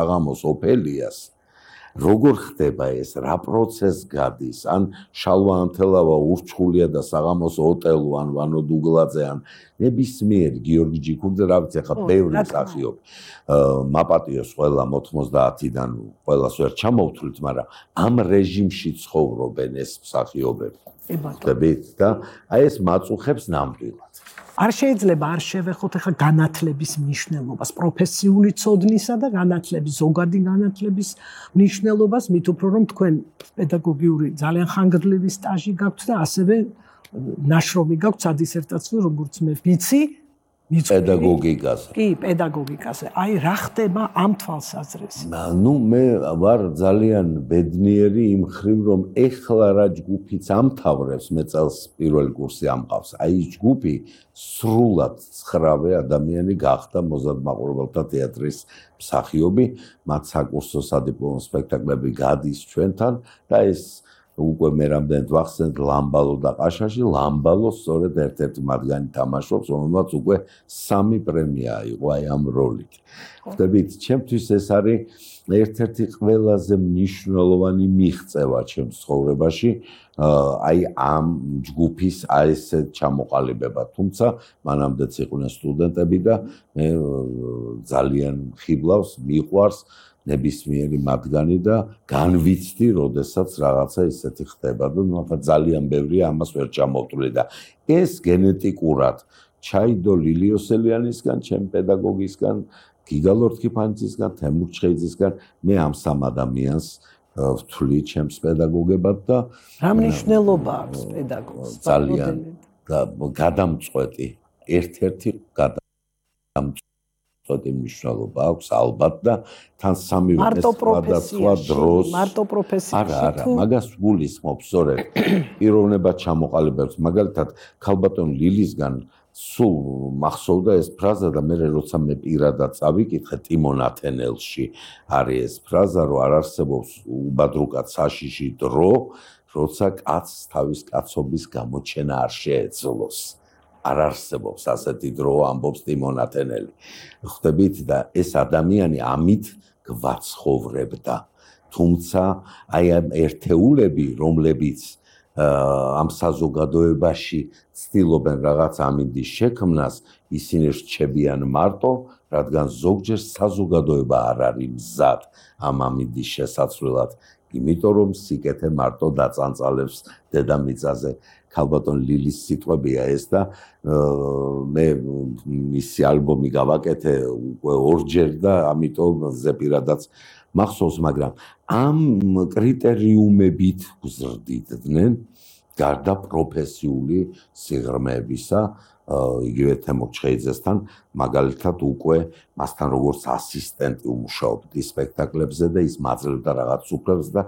საღამოს ოფელიას როგორ ხდება ეს, რა პროცესს გადის, ან შალვა ანთელავა ურჩხულია და საღამოს ოტელო, ან ვანო დუგლაძე, ან ნებისმიერი გიორგი ჯიქურძე, რა ვიცი, ახლა ბევრი მსახიობი. მაპატიოს ყველა 90-დან ყველას ვერ ჩამოვთვლით, მაგრამ ამ რეჟიმში ცხოვრობენ ეს მსახიობები. ხდებით და აი ეს მაწუხებს ნამდვილად. არ შეიძლება არ შევეხოთ ახლა განათლების მნიშვნელობას, პროფესიული ცოდნისა და განათლების, ზოგადი განათლების მნიშვნელობას, მით უფრო რომ თქვენ პედაგოგიური ძალიან ხანგრძლივი სტაჟი გაქვთ და ასევე ნაშრომი გაქვთ სადისერტაციო, როგორც მე ვიცი, პედაგოგიკაზე. კი, პედაგოგიკაზე. აი რა ხდება ამ თვალსაზრისით? ნუ მე ვარ ძალიან ბედნიერი იმ ხრივ, რომ ეხლა რა ჯგუფიც ამთავრებს, მე წელს პირველი კურსი ამყავს. აი ჯგუფი სრულად 9 ადამიანი გახდა მოზარდ მაყურებელთა თეატრის მსახიობი, მათ საკურსო სადიპლომო სპექტაკლები გადის ჩვენთან და ეს უკვე მე რამდენად ვახსენეთ ლამბალო და ყაშაში, ლამბალო სწორედ ერთ-ერთი მათგანი თამაშობს, რომელმაც უკვე 3 პრემია აიღო აი ამ როლით. ხდებით, ჩემთვის ეს არის ერთ-ერთი ყველაზე მნიშვნელოვანი მიღწევა ჩემს ცხოვრებაში, აი ამ ჯგუფის აი ესე ჩამოყალიბება. თუმცა მანამდეც იყვნენ სტუდენტები და მე ძალიან ხიბლავს, მიყვარს ნებისმიერი მათგანი და განვიცდი, როდესაც რაღაცა ისეთი ხდება და ახლა ძალიან ბევრია ამას ვერ ჩამოვთვლი და ეს გენეტიკურად ჩაიდო ლილიოსელიანისგან, ჩემ პედაგოგისგან, გიგა ლორთქიფანიძისგან, თემურ ჩხეიძისგან, მე ამ 3 ადამიანს ვთვლი ჩემს პედაგოგებად და რა მნიშვნელობა აქვს პედაგოგს? ძალიან გადამწყვეტი, ერთ-ერთი გადამწყვეტი მნიშვნელობა აქვს ალბათ და თან სამივე სხვადასხვა დროს მარტო პროფესიაში არა მაგას გულისხმობ სწორედ პიროვნება ჩამოყალიბებს მაგალითად ქალბატონ ლილისგან სულ მახსოვდა ეს ფრაზა და მე როცა მე პირადად წავიკითხე ტიმონ ათენელში არის ეს ფრაზა რომ არ არსებობს უბადრუკად საშიში დრო როცა კაცს თავის კაცობის გამოჩენა არ შეეძლოს არ არსებობს ასეთი დრო ამბობს ტიმონ ათენელი. ხვდებით და ეს ადამიანი ამით გვაცხოვრებდა. თუმცა აი ამ ერთეულები, რომლებიც ამ საზოგადოებაში ცდილობენ რაღაც ამინდის შექმნას, ისინი რჩებიან მარტო, რადგან ზოგჯერ საზოგადოება არ არის მზად ამ ამინდის შესაცვლელად. იმიტომ რომ სიკეთე მარტო დაწანწალებს დედამიწაზე. ქალბატონ ლილის სიტყვებია ეს და მე მისი ალბომი გავაკეთე უკვე 2-ჯერ და ამიტომ ზეპირადაც მახსოვს, მაგრამ ამ კრიტერიუმებით გზრდიდნენ გარდა პროფესიული სიღრმეებისა, იგივე თემურ ჩხეიძესთან, მაგალითად უკვე მასთან როგორც ასისტენტი უმუშაობდი სპექტაკლებზე და ის მაძლევდა რაღაც უფლებს და